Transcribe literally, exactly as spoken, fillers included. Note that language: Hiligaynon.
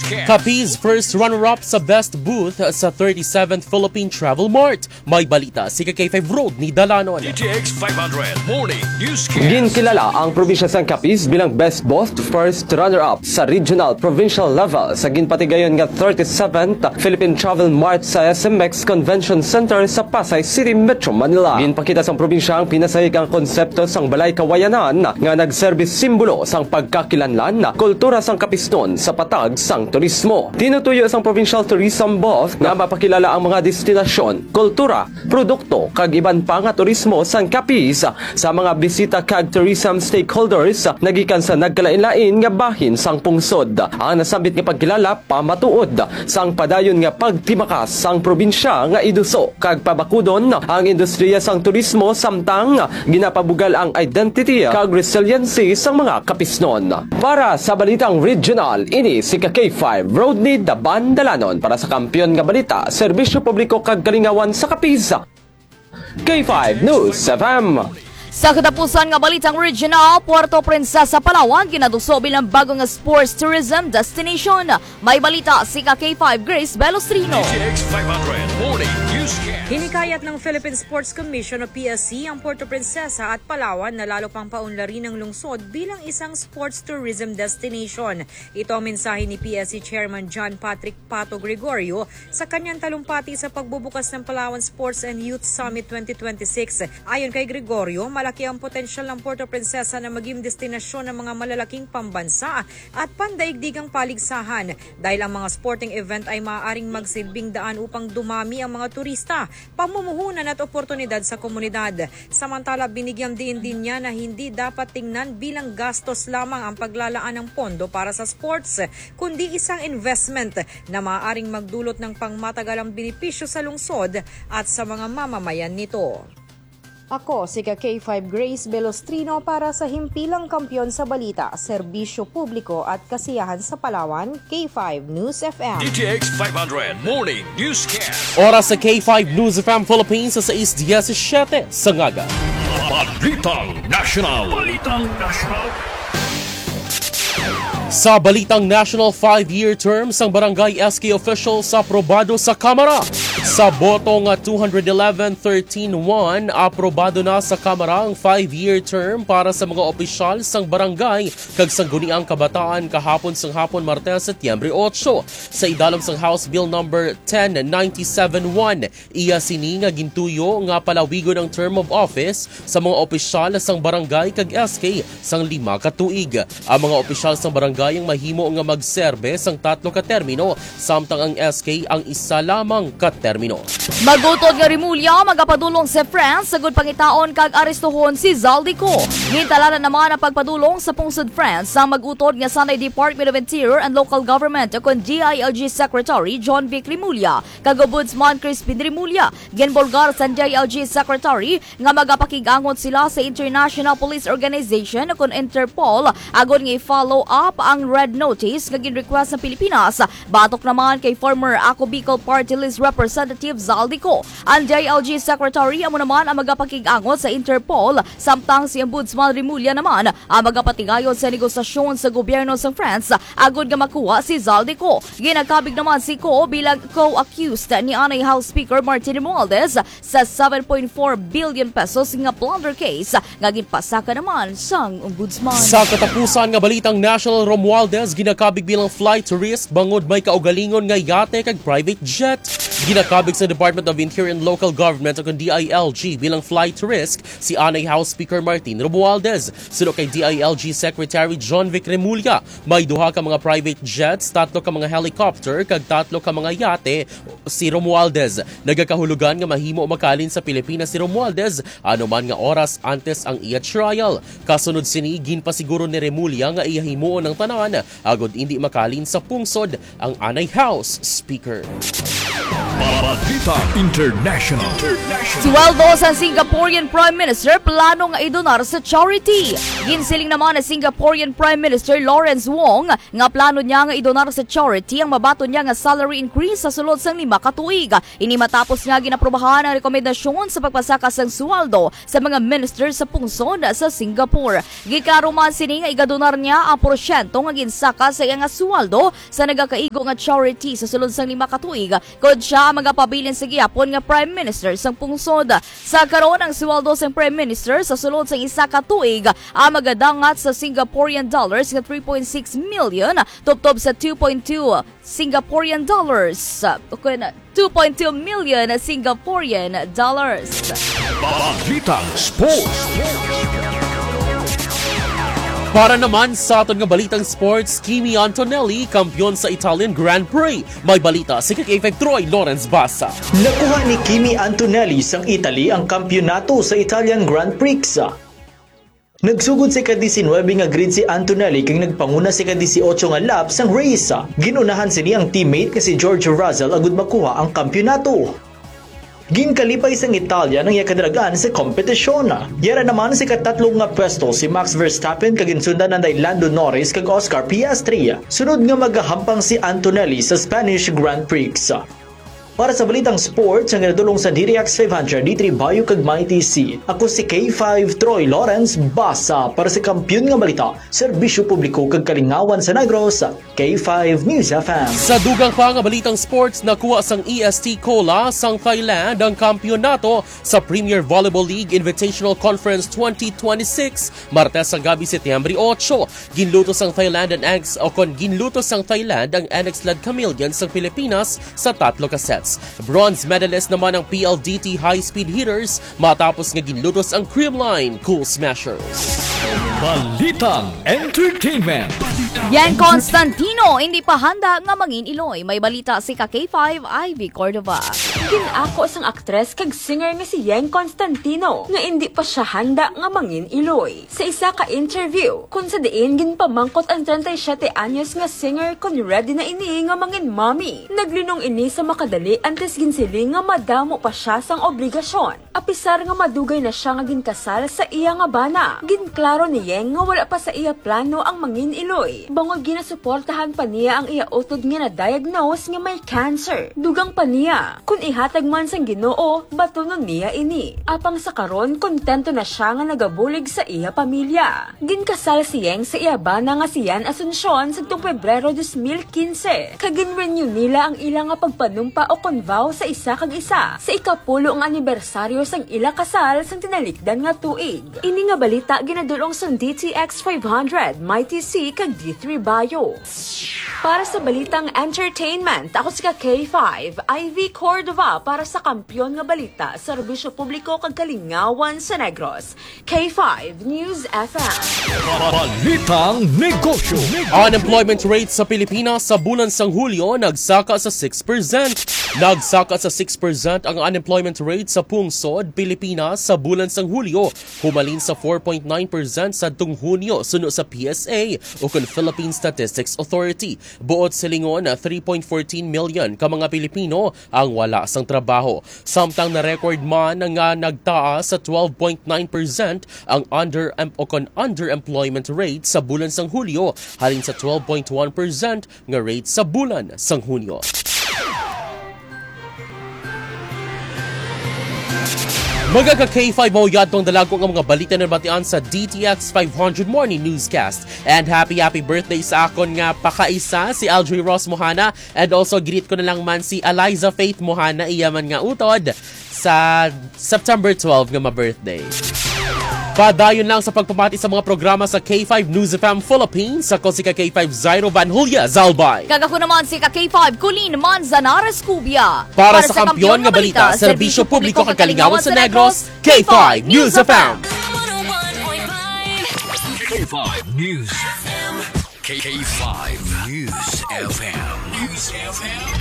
Capiz first runner-up sa Best Booth sa thirty-seventh Philippine Travel Mart. May balita si ka K five Road ni Dalanon. D T X five hundred Morning Newscast. Ginkilala ang probinsya sang Capiz bilang Best Booth first runner-up sa regional provincial level sa ginpatigayon nga thirty-seventh Philippine Travel Mart sa S M X Convention Center sa Pasay City, Metro Manila. Ginpakita sang probinsya ang pinasahig ang konsepto sang Balay Kawayanan nga nagserbi simbolo sang pagkakilanlan, kultura sang Capiznon sa patag sang turismo. Tinutuyo sang Provincial Tourism Booth nga mapakilala ang mga destinasyon, kultura, produkto, kag iban pa nga turismo sang Capiz sa mga bisita kag tourism stakeholders nagikan sa nagkalain-lain nga bahin sang pungsod. Ang nasambit nga pagkilala pamatuod sang padayon nga pagtimakas sang probinsya nga iduso kag pabakudon ang industriya sang turismo, samtang ginapabugal ang identity kag resiliency sang mga Capiznon. Para sa Balitang Regional, ini si ka K five Rodney Daban Dalanon para sa Kampiyon nga Balita, Serbisyo Publiko kag Kalingawan sa Capiz, K five News F M. Sa katapusan nga balitang regional, Puerto Princesa, Palawan, ginaduso bilang bago nga sports tourism destination. May balita si ka K five Grace Belostrino. D T X five hundred Morning Newscast. Hinikayat ng Philippine Sports Commission o P S C ang Puerto Princesa at Palawan na lalo pang paunlarin ang lungsod bilang isang sports tourism destination. Ito ang mensahe ni P S C Chairman John Patrick Pato Gregorio sa kanyang talumpati sa pagbubukas ng Palawan Sports and Youth Summit twenty twenty-six. Ayon kay Gregorio, malaki ang potensyal ng Puerto Princesa na maging destinasyon ng mga malalaking pambansa at pandaigdigang paligsahan, dahil ang mga sporting event ay maaaring magsilbing daan upang dumami ang mga turista, pamumuhunan at oportunidad sa komunidad. Samantala, binigyang diin din niya na hindi dapat tingnan bilang gastos lamang ang paglalaan ng pondo para sa sports, kundi isang investment na maaaring magdulot ng pangmatagalang benepisyo sa lungsod at sa mga mamamayan nito. Ako si ka K five Grace Belostrino para sa Himpilang Kampiyon sa Balita, Serbisyo Publiko at Kasiyahan sa Palawan, K five News F M. D T X five hundred Morning Newscast. Oras sa K five News F M Philippines sa sais diecisiete sa ngaga. Balitang National. Balitang National. Sa balitang national, five-year term sang barangay S K officials aprobado sa Kamara. Sa boto nga two hundred eleven thirteen one, aprobado na sa Kamara ang five-year term para sa mga opisyal sang barangay kag sangguniang kabataan kahapon sang hapon, Martes, Setyembre otso. Sa idalom sang House Bill Number ten ninety-seven one, iya sini nga gintuyo nga palawigon ang term of office sa mga opisyal sang barangay kag S K sang lima ka tuig. Ang mga opisyal sang barangay ang mahimo nga magserbe sang tatlo ka termino, samtang ang S K ang isa lamang ka termino. Magutod nga Remulla magapadulong sa France sagud pangitaon kag arestohon si Zaldy Co. Gintalanan naman ang pagpadulong sa pungsod France sang magutod nga sanay Department of Interior and Local Government, ukon D I L G Secretary John Vic Remulla kag Ombudsman Crispin Remulla. Ginbulgar sang D I L G Secretary nga magapakig-angot sila sa International Police Organization, ukon Interpol, agod nga i-follow up ang red notice nga gin-request sa Pilipinas. Batok naman kay former Ako Bicol Party List Representative Zaldy Co, ang D I L G Secretary amo naman ang magapakig-angot sa Interpol, samtang si Ombudsman Remulla naman ang magapatigayon sa negosasyon sa gobyerno sa France agod nga makuha si Zaldy Co. Ginakabig naman si Co bilang co-accused ni anay House Speaker Martin Romualdez sa seven point four billion pesos nga plunder case nga ginpasaka naman sang Ombudsman. Sa katapusan nga balitang national, Romualdez ginakabig bilang flight risk bangod may kaugalingon nga yate kag private jet. Ginakabig sa Department of Interior and Local Government, ukon D I L G, bilang flight risk si anay House Speaker Martin Romualdez. Suno kay D I L G Secretary John Vic Remulla, may duha ka mga private jets, tatlo ka mga helicopter, kag tatlo ka mga yate si Romualdez. Nagakahulugan nga mahimo makalin sa Pilipinas si Romualdez anuman nga oras antes ang iya trial. Kasunod sini, ginpasiguro ni Remulla nga iya himuon ang tanan agod indi makalin sa pungsod ang anay House Speaker. Balita International. Sweldo sa Singaporean Prime Minister plano nga idonar sa charity. Ginsiling naman ni Singaporean Prime Minister Lawrence Wong nga plano niya nga idonar sa charity ang mabaton niya nga salary increase sa sulod sang lima ka tuig. Ini matapos nga ginaprobahan ang rekomendasyon sa pagpasaka sang sweldo sa mga minister sa pungsod sa Singapore. Giklaro man sini nga igadonar niya ang porsyento nga ginsaka sa iya nga sweldo sa nagakaigo nga charity sa sulod sang lima ka tuig, kon siya ang magapabilin sa gihapon nga Prime Minister sang pungsod. Sa karon, ang sweldo sang Prime Minister sa sulod sang isa ka tuig ang magadangat sa Singaporean dollars nga three point six million, tubtob sa two point two Singaporean dollars, o kun two point two million Singaporean dollars. Balitang Sports. Para naman sa aton nga balitang sports, Kimi Antonelli, kampiyon sa Italian Grand Prix. May balita si K five Troy Lawrence Basa. Nakuha ni Kimi Antonelli sang Italy ang kampiyonato sa Italian Grand Prix. Nagsugod sa ika-diecinuebe nga grid si Antonelli kag nagpanguna sa ika-dieciocho nga lap sang race. Gin-unahan sini ang teammate nga si George Russell agud makuha ang kampiyonato. Ginkalipay sang Italian ang iya kadarag-an sa kompetisyon. Yara naman sa ikatatlo nga pwesto si Max Verstappen kag ginsundan anday Lando Norris kag Oscar Piastri. Sunod nga magahampang si Antonelli sa Spanish Grand Prix. Para sa balitang sports nga ginadul-ong sa D T X five hundred, D three Bayo kag Mighty C, ako si K five Troy Lawrence Basa para sa Kampiyon nga Balita, Serbisyo Publiko kag Kalingawan sa Negros, K five News F M. Sa dugang pa nga balitang sports, nakuha sang E S T Kola sang Thailand ang kampiyonato sa Premier Volleyball League Invitational Conference twenty twenty-six, Martes sa gabi, Setyembre ocho. Ginluto sang Thailand ang Annex, o kon ginluto sang Thailand ang Annex Lad Chameleon sang Pilipinas sa tatlo ka sets. Bronze medalist naman ang P L D T High Speed Hitters matapos nga ginlutos ang Creamline Cool Smashers. Balitang Entertainment. Yang Constantino, hindi pa handa nga mangin iloy. May balita si ka K five, Ivy Cordova. Gin-ako sang aktres kag singer nga si Yeng Constantino nga indi pa siya handa nga mangin iloy. Sa isa ka interview, kung sa diin ginpamangkot ang treinta y siete anyos nga singer kon ready na ini nga mangin mommy, naglinong ini sa makadali antes ginsiling nga madamo pa siya sang obligasyon. Apisar nga madugay na siya nga ginkasal sa iya nga bana, ginklaro ni Yeng nga wala pa sa iya plano ang mangin iloy, bangod ginasuportahan pa niya ang iya utod nga na-diagnose nga may cancer. Dugang pa niya, kun ihatag man sang Ginoo, batunon niya ini. Apang sa karon, kontento na siya nga nagabulig sa iya pamilya. Ginkasal si Yeng sa iya bana nga si Yan Asuncion sadtong Pebrero dos mil quince, kag gin-renew nila ang ila nga pagpanumpa o kon vow sa isa kag isa sa ikapulo nga anibersaryo sang ila kasal sang tinalikdan nga tuig. Ini nga balita ginadul-ong sang D T X five hundred, Mighty C, kag D three Bio. Para sa balitang entertainment, ako si ka K five, Ivy Cordova, para sa Kampiyon nga Balita, Serbisyo Publiko kag Kalingawan sa Negros. K five News F M. Balitang Negosyo. Unemployment rate sa Pilipinas sa bulan sang Hulyo nagsaka sa six percent. Nagsaka sa six percent ang unemployment rate sa pungsod Pilipinas sa bulan sang Hulyo, humalin sa four point nine percent sadtong Hunyo, suno sa P S A o kon Philippine Statistics Authority. Buot silingon, three point fourteen million ka mga Pilipino ang wala sang trabaho. Samtang na-record man nga nagtaas sa twelve point nine percent ang under o kon underemployment rate sa bulan sang Hulyo, halin sa twelve point one percent nga rate sa bulan sang Hunyo. Mga ka K five, mao yadtong dalago nga mga balita na nabatian sa D T X five hundred Morning Newscast. And happy, happy birthday sa akon nga pakaisa, si Aldrin Ross Mohana. And also, greet ko na lang man si Eliza Faith Mohana, iya man nga utod sa September twelve nga ma-birthday. Padayon lang sa pagpamati sa mga programa sa K five News F M Philippines, ako si ka K five Zairo Van Julia Zalbay. Kag ako naman si ka K five Colleen Manzanares Cubia. Para sa Kampiyon nga Balita, Serbisyo Publiko kag Kalingawan sa Negros, K five News F M. K five News F M. K five News F M. News F M.